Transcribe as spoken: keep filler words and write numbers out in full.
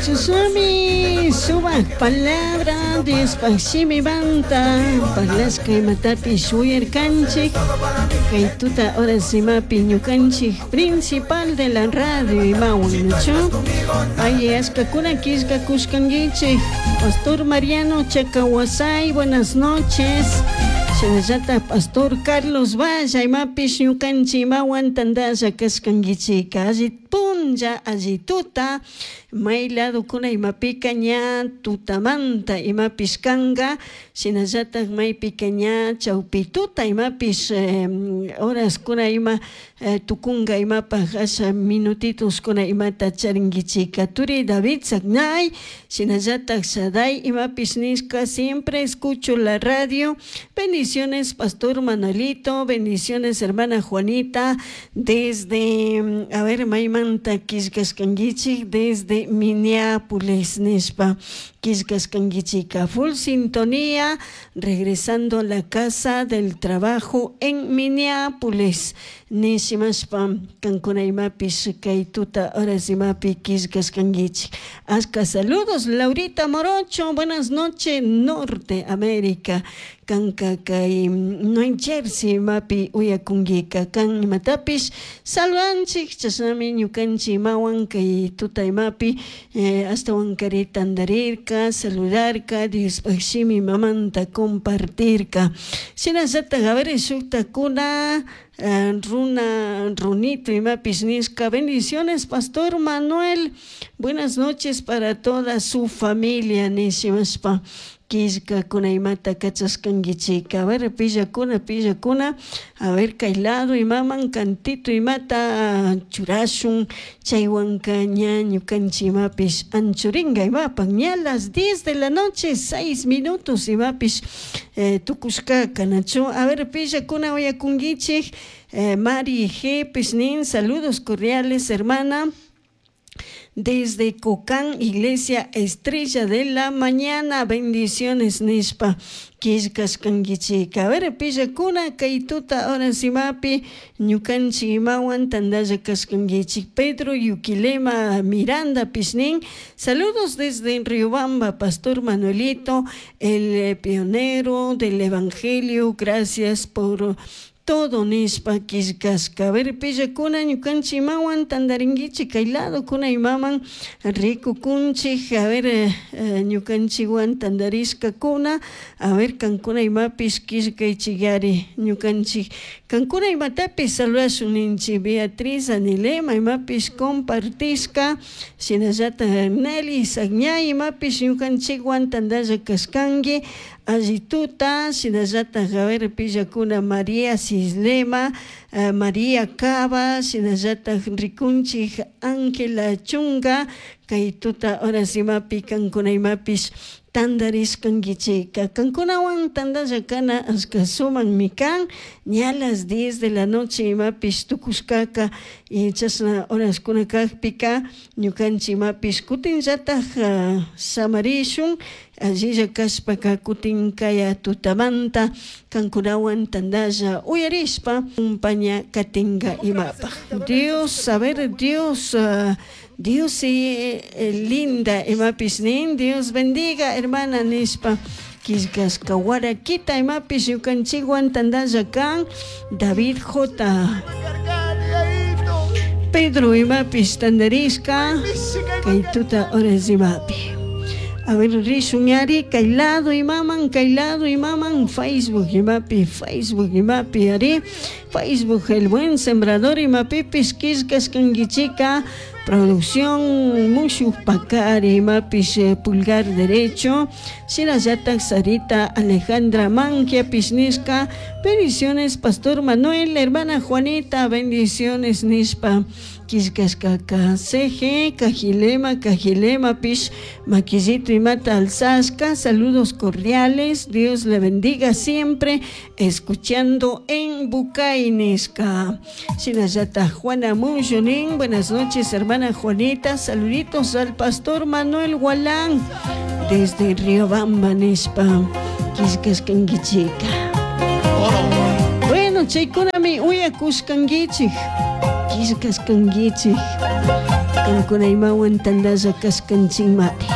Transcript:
Chashnami sumak palabra Diospaj shimimanta parlashka imatapish uyarkanchik kay tuta horas imapi ñukanchik principal de la radio imawan, ¿nachu? Ay, ashkakuna killkakushkankichik. Pastor Mariano Chacahuasay, buenas noches. Shinallata Pastor Carlos Valla imapish ñukanchik imawan tantalla kashkankichik. Alli punlla, alli tuta, may ladokuna imapika ña tutamanta imapish kanka, shinallatak maypika ña chawpi tuta imapish horaskuna ima tukunka imapaj asha minutitoskuna imata charinkichika. Turi David Sagnay, shinallatak Shaday imapish nishka, siempre escucho la radio. Bendiciones, Pastor Manuelito, bendiciones, hermana Juanita, desde, a ver, maymanta killkashkankichik, desde Minneapolis nishpa killkashkankichika. Full sintonía, regresando a la casa del trabajo en Minneapolis nishimashpa kankuna imapish kay tuta horas imapi killkashkankichik. Ashka saludos, Laurita Morocho, buenas noches, Norte América. Kanka kay New Jersey imapi uyakunkika kan imatapish saludanchik, chashnami ñukanchik imawan kay tuta imapi eh, ashtawankari tandarirka, saludarka, Diospaj shimi mamanta compartirka. Shinallatak, a ver, shuktakuna runa runito imapish nishka, bendiciones, Pastor Manuel, buenas noches para toda su familia nishimashpa killkakuna imata kachashkankichik. A ver, pillakuna, pillakuna, a ver, kay lado imaman cantito imata churashun, chaywanka ña ñukanchik imapish anchurinka imapak ña las diez de la noche, seis minutos imapish eh, tukushkaka, nachu. A ver, pillakuna uyakunkichik. eh, Mari G. Pesnin, saludos cordiales, hermana. Desde Cocán, Iglesia Estrella de la Mañana, bendiciones nishpa killkashkankichik. A ver, pillakuna kay tuta horas imapi ñukanchik imawan tantalla kashkankichik. Pedro Yuquilema Miranda Pishnin, saludos desde Riobamba, Pastor Manuelito, el pionero del Evangelio, gracias por todo nishpa killkashka. A ver, pillakuna ñukanchik imawan tantarinkichik kay lado kuna imaman rikukunchik. A ver, eh, ñukanchikwan tantarishkakuna, a ver, kankuna imapish killkaychikari ñukanchik kankuna imatapish saludashun ninchik. Beatriz Anilema imapish compartishka, shinallatak Nelly Sagñay imapish ñukanchikwan tantalla kashkanki, alli tuta. Shinallatak, a ver, pillakuna María Cislema, uh, María Cava, shinallatak rikunchik Ángela Chunga, kay tuta horas imapi kankuna imapish tantarishkankichik. Kankunawan tantalla kana ashka sumakmi kan, ña las diez de la noche imapish tukushkaka, y chashna horaskuna kakpika ñukanchik imapish kutinllatak uh, samarishun, allilla kashpaka kutin kaya tutamanta kankunawan tantalla uyarishpa kumpaña katinka imapaj. Dios, a ver, Dios, uh, Dios eh, linda imapish nin, Dios bendiga hermana nishpa killkashka. Warakita imapish ñukanchikwan tantalla kan David J. Pedro imapish tantarishka kay tuta horas imapi. A ver, rishun ari kay lado imaman, kay lado imaman, Facebook imapi, Facebook imapi, ari, Facebook El Buen Sembrador imapipis killkashkankichika, producción Mushu Pakari imapish eh, pulgar derecho, shinallatak Sarita Alejandra Mangia pisnishka, bendiciones Pastor Manuel, hermana Juanita, bendiciones nishpa killkashkaka. C G Cajilema, Cajilema pish maquillito imata alzasca, saludos cordiales, Dios le bendiga siempre, escuchando en Bucainesca. Shinallata Juana Muyonin, buenas noches hermana Juanita, saluditos al pastor Manuel Gualán desde Riobamba nishpa killkashkankichika. Bueno, chaykunami uyakushkankichik, killkashkankichik. Kankuna imawan tantalla kashkanchikmari.